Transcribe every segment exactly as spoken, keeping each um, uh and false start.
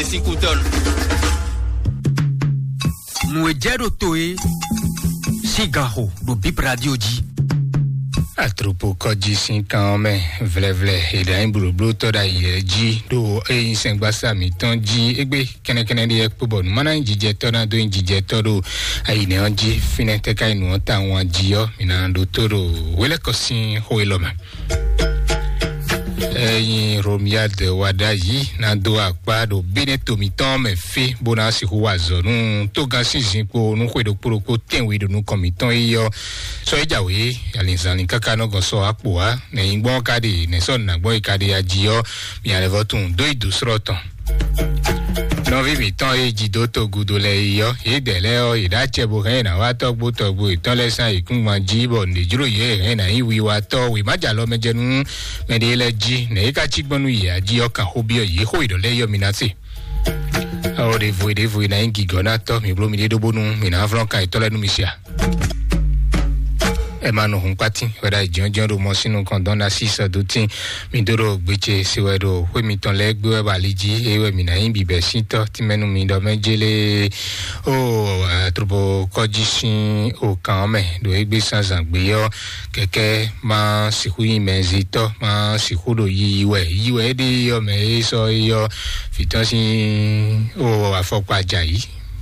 Esíkútɔ́nù. Nǔ e jɛ ɖo to é sín ganxo ɖo Bip Radio jí. Atropokɔji sín kan ɔ́ mɛ vlɛvlɛ, è ɖǎ nyí blǒblótɔ́ ɖo ayǐ lɛ́ɛ jí ɖo ényí sɛngbásá mǐtɔn jí égbé kɛnɛkɛnɛ ɖé yɛ kpó bɔ nǔ má ná nyí jijɛtɔ́ ná dó nyí jijɛtɔ́ ɖo ayǐnɛ ɔ́ jí. Fínɛ́ tɛ́ ká nyí nǔ ɔ́ tawun jí ɔ́, mǐ ná ɖótó ɖo wélɛ́kɔ sín xó élɔ́ mɛ. Ényí Romiad wa ɖ'ayǐ ná dó akpá ɖo bínɛ́ to mǐtɔn mɛ fí bó ná sixú wa azɔ̌ nú tógán sín zinkpo nú xwe ɖokpó ɖokpó tɛ́nwe ɖo nukɔn mǐtɔn é ɔ́, sɔ é jǎwe alǐnzánlín káká nɔ gɔn sɔ akpo wá nɛ̌ nyí gbɔn ká ɖe nɛ̌ sɔ́ nǔ ná gbɔn é ka ɖe ají ɔ́, mi alɛvɔ́ tunwun dó yi dǒ srɔ́ tɔn. Nɔví mǐtɔn e jí dó togudo lɛ́ɛ yi ɔ́, yědɛɛ lɛ́ɛ ɔ́, yě ɖó acɛ bó hɛn yě ná wá tɔgbo tɔgbo yětɔn lɛ́ɛ sín ayǐkúngban jí, bɔ nǔɖé jló yě hɛn yě ná nyí wiwatɔ́ wěmájalɔmɛjɛnú mɛɖé lɛ́ɛ jí. Nɛ̌ é ka cí gbɔn nú yě ají ɔ́ kan xó byɔ́ yě xó yě ɖɔ lɛ́ɛ yi ɔ́, mi ná se. Ɔ ɖěvo e ɖěvo e ná nyí gǐgɔ́nátɔ́, mi bló miɖée ɖó bónú mi ná vlɔ́n kan yětɔn lɛ́ɛ nú mi sia. Ɛ ma nɔ hun kpátín wɛ ɖo ayǐjínjɔ́n ɖo mɔ sín nukɔn dɔn ná sí sɔdútín. Mi dó ɖo gbece se wɛ ɖo xwé mitɔn lɛ́ɛ gbé wɛ bɔ ali jí, eye wɛ mǐ ná nyí bǐbɛ́ sín tɔ́ tínmɛ nú mi ɖɔ mɛ jélé. Ó, atrobo kɔ́jí sín òkan ɔ́ mɛ ɖo égbé zǎnzǎn gbé ɔ́, kɛkɛ́ má sixú nyí mɛzitɔ́, má sixú ɖo yiyi wɛ. Yiyi wɛ é ɖe ɔ́ mɛ é sɔ́ é ɔ́, fǐtɔ́ sín ó afɔkpa jǎ yí.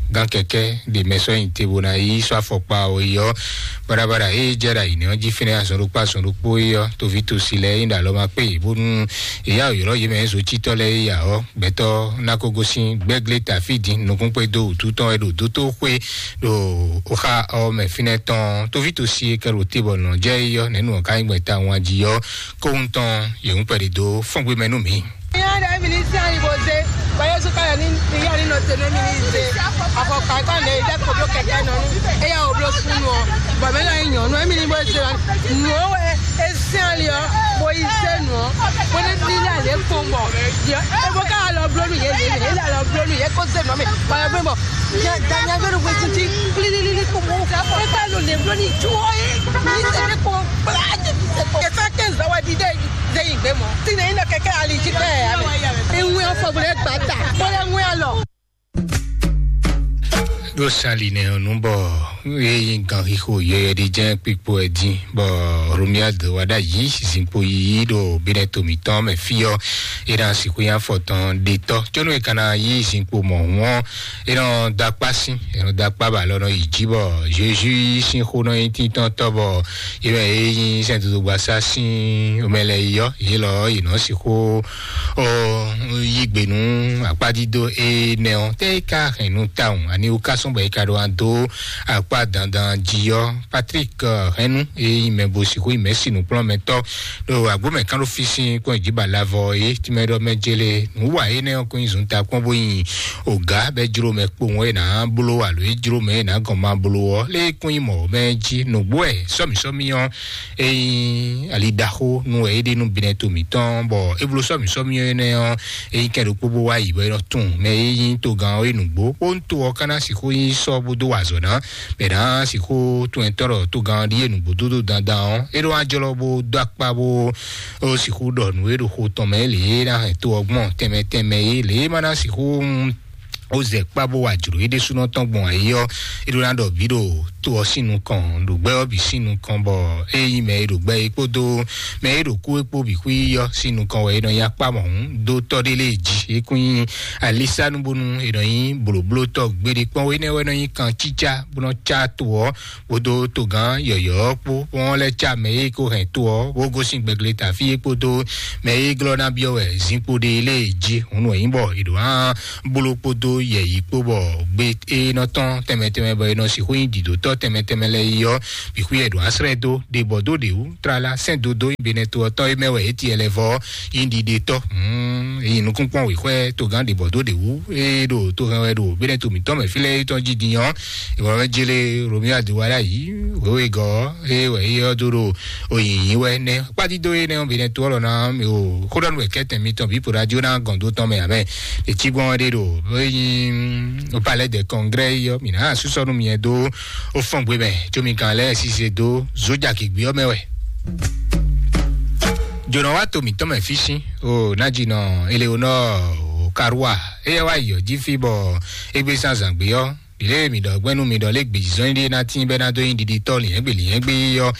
Gán kɛkɛ́ ɖe mɛ sɔ́ nyi te bó ná yi sɔ́ afɔkpa ɔ́ yi ɔ́, baɖabaɖa ée jɛ ɖo ayǐ nɛ́ ɔ́ jí fínɛ́ azɔn ɖokpó azɔn ɖokpó é ɔ́, toví tosi lɛ́ɛ é ɖo alɔ ma kpé yě bónú è yá ylɔ́ yě mɛ zocítɔ́ lɛ́ɛ é ya ɔ́, gbɛtɔ́ ná ko gosín gbɛ́glé tafí din nukúnkpé dó wǔtu tɔn wɛ ɖo dótóxwé ɖo xá ɔ́ mɛ fínɛ́ tɔn. Toví tosi e kɛ ɖo te bɔ nɔ jɛ é ɔ́, nɛ̌ nǔ ɔ́ ka nyí gbɛn tawun jí ɔ́, kóhun tɔn yě ń kpɛɖi dó fɔ́ngbémɛ nú mǐ. Ìyá rẹ̀ mi ní sí àyìnbó ṣe, báyọ̀ sún káyọ̀ ní ìyá nínú tẹ̀lé mi ní ṣe. Àfọ̀kà ká lè jẹ́ kó bló kẹ̀kẹ́ nọ nú. Ẹ̀yà ò bló sún nù ọ́. Bọ̀ mí náà yàn nù, ẹ̀mí ní bó ṣe wá. Nù ó wẹ̀, ẹ sí àlè ọ́, bó yí ṣe nù ọ́. Bó ní bí ilé àlè kó mọ̀. Yọ, ẹ bó ká lọ bló nù yé lè, yé là lọ bló nù yé kó ṣe nù mí. Báyọ̀ bí mọ̀, dànyà gbẹ́nu pé títí, lílílí kó mọ̀. Ẹ bá lò lè bló ní ju ọ́ yé. Ní ṣe dé kó, bá a jẹ ní ṣe kó. Ẹ fẹ́ kí n zọ wá di dé yìí. Zé yi gbé mɔ. Tí ne yín nɔ kɛkɛ ali jí pɛ ya mɛ. Ewu yɛ fɔ bolo gba ta. Bolo ŋu ya lɔ. Ɖo sali nɛ ɔnu bɔ eye gan xixo yɔyɔ ɖi jɛ kpikpo ɛ din bɔ Romuald wa ɖa yi zinkpo yiyi ɖo binɛ tomitɔn mɛ fi ɔ. Ena sixu ya fɔtɔn ɖetɔ tsɔnu e kana yi zinkpo mɔ hu ɔ. Enɔ dakpa si enɔ dakpa ba lɔ nɔ yi ji bɔ Jésus sin xo nɔ yi titɔn tɔ bɔ ye mɛ ye nyi sɛn dodo gbasa sin omɛ lɛ yi yɔ ye lɔ yi nɔ sixu o yi gbe nu akpadido enɛ ɔ tɛ yi ka hɛn nu tawun ani wo ka sɔn bɔ yi ka ɖo an do akpa dandan ji yɔ. Patrick hɛn nu eyi mɛ bo sixu yi mɛ si nukplɔn mɛ tɔ ɖo agbo mɛ kan ɖo fi sin kɔn yi ji ba lavɔ ye timɛ ɖɔ mɛ jele nu wa ye nɛ ɔ kɔn yi zun ta kpɔn bo yi oga bɛ jlo mɛ kpowun ye na blo alo ye jlo mɛ ye na gɔn ma blo ɔ le kɔn yi mɔ mɛ ji nugbo ɛ sɔmi sɔmi ɔ eyi ali daxo nu ɛ ye ɖe nu binɛ to mitɔn bɔ eblo sɔmi sɔmi ɔ nɛ ɔ eyi kɛ ɖokpo bo wa yi bɔ e nɔ tun mɛ ye yi to gan ɔ ye nugbo kpo to ɔ kana sixu yi sɔ bo do wa azɔ na mɛ na sixu tun ɛtɔ ɖɔ to gan ɔ ɖi ye nugbo dodo dandan ɔ e ɖo ajɔlɔ bo do akpa bo o sixu ɖɔ nǔ e ɖo xo tɔn mɛ lě e ná hɛn to ɔ́ gbɔn tɛnmɛ tɛnmɛ é lě e ma ná sixú o zɛ kpá bó wa jlǒ é ɖésúnɔ tɔn gbɔn ayé ɔ́ é ɖó ná ɖɔ bǐ ɖo to ɔ́ sín nukɔn ɖo gbɛ ɔ́ bǐ sín nukɔn bɔ é nyí mɛ e ɖo gbɛ é kpódó mɛ e ɖo kú é kpó bǐ xwí ɔ́ sín nukɔn wɛ é nɔ nyi akpá mɔ̌hún dó tɔ́ ɖé lée jí é kún nyí alísánu bónú è nɔ nyí blǒblótɔ́ gbeɖé kpɔ́n énɛ́ wɛ nɔ nyí kan cícá bó nɔ cá to ɔ́ kpódó togán yɔ̌yɔ́ kpó wọ́n lɛ́ cá mɛ e ko hɛn to ɔ́ bó gosín gbɛglé tafí é kpódó mɛ e glɔ́ ná byɔ́ wɛ zinkpo ɖe lée jí hun nɔ nyí bɔ è ɖǒ hán bló kpódó yɛ̌yi kpó bɔ gbe e nɔ tɔ́n tɛnmɛ tɛnmɛ bɔ è nɔ sixú nyí dǐdótɔ́ tɛnmɛ tɛnmɛ lɛ́ɛ yi ɔ́ bǐ xwí ɛ ɖǒ asrɛ́ dó ɖe bɔ dó ɖě wú tlala sɛ́n dodó yi benɛto ɔ́ tɔ́ é mɛ wɛ é tiɛ lɛ vɔ yi ɖiɖe tɔ́. Yi nukúnkpɔ́n wěxwɛ togán ɖe bɔ dó ɖě wú é ɖo to hɛn wɛ ɖo benɛto mǐtɔn mɛ fí lɛ́ɛ tɔn jí din ɔ́ ìwọ wɛ jele romeo adiwala yi wéwé gɔ é wɛ é ɔ́ dó ɖo oyǐnyí wɛ nɛ kpátídó é nɛ ɔ́ benɛto ɔ́ lɔ ná o xóɖɔnu wɛ kɛtɛn mitɔn bí poɖajo ná gɔn dó tɔn mɛ amɛ. Etí gbɔn ɖe ɖo eyin o palais de congrès yɔ mi ná asúsɔ nú miɛ dó o fɔn gbe mɛ tso mi kan lɛ sise dó zojaki gbiɔ mɛ wɛ. Jona wa to mitɔn mɛ físín o nadzi nɔ eleonɔ o Karua, éyɛ́ wá yi ɔ́ jí fí bɔ égbé sín azǎn gbé ɔ́, ɖǐlé mi ɖɔ gbɛ́nú mi ɖɔ lé gbězɔ́n ɖé ná tín bɛ́ ná dó nyi ɖiɖitɔ́ lǐnyɛ́gbě lǐnyɛ́gbé yi ɔ́,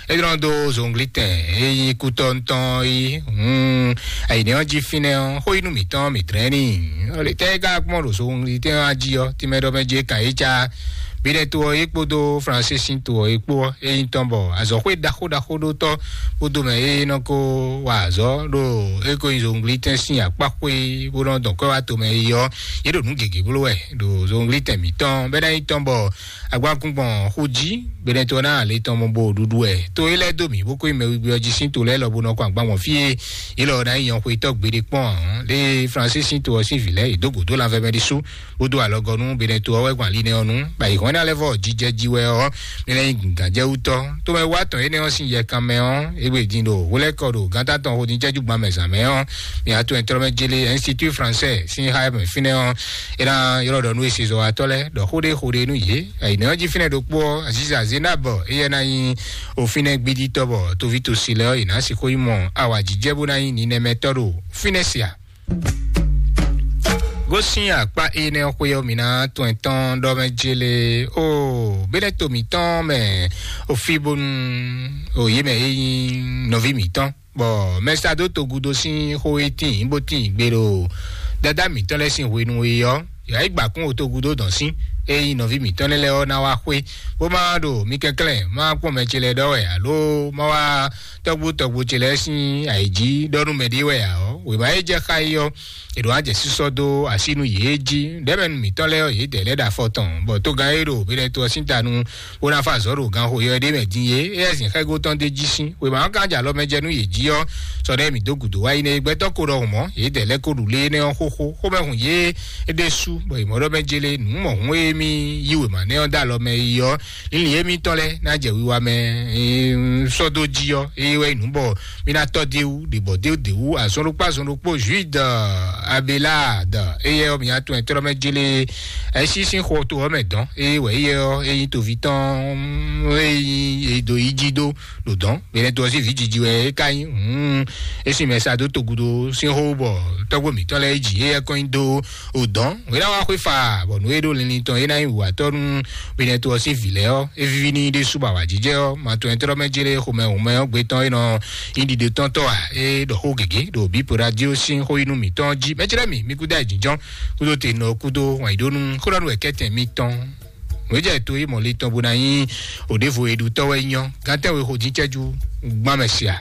é ɖɔ dó zɔnglitɛn e nyí kútɔ́ ŋutɔn é. Hun, ayǐnɛ́ ɔ́ jí fínɛ́ ɔ́, xó yí nú mǐtɔn mǐ dlɛ́n n'i. Tɛ́ é ka kpɔ́n ɖo zɔnglitɛn ɔ́ jí ɔ́, tínmɛ ɖɔ mɛ jí é kan é cá Bínɛ́ to ɔ́ é kpódó Fransé sín to ɔ́ é kpó ɔ́, é nyí tɔn bɔ azɔ̌xwé ɖaxó ɖaxó ɖó tɔ́ kpódó mɛ e nɔ ko wa azɔ̌ ɖo é ko nyi zɔnglitɛn sín akpáxwé bó nɔ dɔn kwɛ́ wá tomɛ é ɔ́, yě ɖo nǔ gěgé bló wɛ ɖo zɔnglitɛn mǐtɔn bɛ́ ná nyí tɔn bɔ agbankúngbɔn xú jí. Bínɛ́ to ɔ́ ná lě tɔn mɔ bo ɖuɖu wɛ to é lɛ́ dó mǐ bó ko nyi mɛwigbí ɔ́ jí sín to lɛ́ɛ lɔ bó nɔ kɔ agban gbɔn fí e yě lɔ ná nyí nyɔxwetɔ́ gbeɖé kpɔ́n ǎ. Lě e Fransé sín to ɔ́ sín vǐ lɛ́ɛ yě dó gǒ dó lanvɛ mɛ ɖésú bó dó alɔgɔ́ nú Benɛto ɔ́ wɛ gbɔn ali nɛ́ ɔ́ nu, bɔ ayǐhɔ́n énɛ́ lɛ́ɛ vɔ jijɛ jí wɛ ɔ́, mi lɛ́ nyí gǎnjɛwútɔ́. Tómɛ wá tɔn énɛ́ ɔ́ sín yɛ kan mɛ ɔ́, égbé din ɖo hwelɛ́kɔ ɖo gǎntá tɔn xo din cɛ́jú gban mɛ zǎn mɛ ɔ́, mi wá to ɛntrɔ́mɛ jélé Institut Français sín xá mɛ fínɛ́ ɔ́, é ná ylɔ́ ɖɔ nú esezɔwatɔ́ lɛ́ɛ ɖɔ xó ɖé xó ɖé nú yě. Ayǐnɛ́ ɔ́ jí fínɛ́ ɖokpó ɔ́, Aziza Zénab, éyɛ́ ná nyí òfínɛ́ gbídítɔ́ bɔ toví tosi lɛ́ɛ ɔ́, yě ná sixú nyí mɔ awǎjijɛ bó ná nyí ninɛmɛtɔ́ ɖo fínɛ́ sia. Gosín akpá énɛ́ xwé ɔ́, mǐ ná tɔn ɛtɔn ɖɔ mɛ jélé o bínɛ́ to mǐtɔn mɛ o fí bónú o yě mɛ é nyí nɔví mǐtɔn, bɔ mɛsado togudo sín xó e tíin bó tíin gbe ɖo dada mǐtɔn lɛ́ɛ sín hwenu e ɔ́, yǎ yi gbǎkún o togudo dɔn sín e nyí nɔví mǐtɔn lɛ́ɛ lɛ́ɛ ɔ́ ná wá xwé, bó má ɖo mi kɛnklɛ́n má kpɔ́n mɛ ce lɛ́ɛ ɖɔ wɛ alo má wá tɔ́gbó tɔ́gbó ce lɛ́ɛ sín ayǐjí ɖɔ nú mɛɖé wɛ ǎ ɔ́, wěma e jɛ xá é ɔ́, è ɖǒ wá jɛ sísɔ́ dó así nú yě jí. Ɖɛ̌mɛnu mǐtɔn lɛ́ɛ ɔ́, yě dɛ lɛ́ ɖo afɔ tɔn, bɔ tógán e ɖo Benɛto ɔ́ sín ta nu bó ná fa azɔ̌ ɖo ganxo yɔ ɖé mɛ din é, éyɛ́ zǐn xɛ́gó tɔn d'é jí sín. Wěma ɔ́ ka jɛ alɔ mɛ jɛ nú yě jí ɔ́, sɔ ɖɛ́ mǐ dó gǔdo wá yi nɛ́ é gbɛtɔ́ ko ɖɔhun mɔ̌, yě dɛ lɛ́ ko ɖu lé énɛ́ ɔ́ xóxó, xomɛ hun yě ɖésú, bɔ yě mɔ ɖɔ mɛ jélé nǔ mɔ hun e mì yí wěma nɛ́ ɔ́ dó alɔ mɛ yi ɔ́, Lílì émítɔn lɛ́ɛ ná jɛ wiwa mɛ, ee, sɔ́ dó jí ɔ́, eye wɛ nyí nǔ bɔ mí ná tɔ́ dé wú, ɖě bɔ dé dé wú, azɔn ɖokpó azɔn ɖokpó, Jude, Abelard, eye ɔ́, mǐ atún ɛtrɔ́ mɛ jélé, ɛsí sín xɔ to ɔ́ mɛ dɔn, eye wɛ eye ɔ́, e nyí toví tɔn, e nyí e do yi jí dó ɖo dɔn, mɛ lɛ́ɛ to ɔ́ sín vǐ jiji wɛ é ka nyí, hǔn, é sín mɛ sa dó togudo sín xó bɔ tɔ́gbó mǐtɔn lɛ́ɛ jí, eye kɔn nyi dó o dɔn, wě ná wá xwé fa, bɔ nǔ e ɖó linlin tɔn é ná nyí wǔwatɔ́ nú Benɛto ɔ́ sín vǐ lɛ́ɛ ɔ́, é víví n'i ɖésú bɔ awǎjijɛ ɔ́, ma tɔn ɛ tlɔ́ mɛ jlé xomɛ hǔnmɛ ɔ́ gbetɔn e nɔ nyí ɖiɖe tɔn tɔ́ ǎ, é ɖɔ xó gěgé ɖo bǐ po radio sín xó yí nú mǐtɔn jí. Mɛ jlɛ́ mì, mi kúdó ayǐjínjɔ́n, kúdó te nɔ kúdó wǎn yí ɖó nú xó ɖɔ nú wɛ kɛ́tɛn mitɔn. Nǔ e jɛ to yí mɔ le tɔn bó ná nyí òɖévo e ɖu tɔ́ wɛ nyɔ́, gantɛ́ we xo dín cɛ́jú gbán mɛ sia.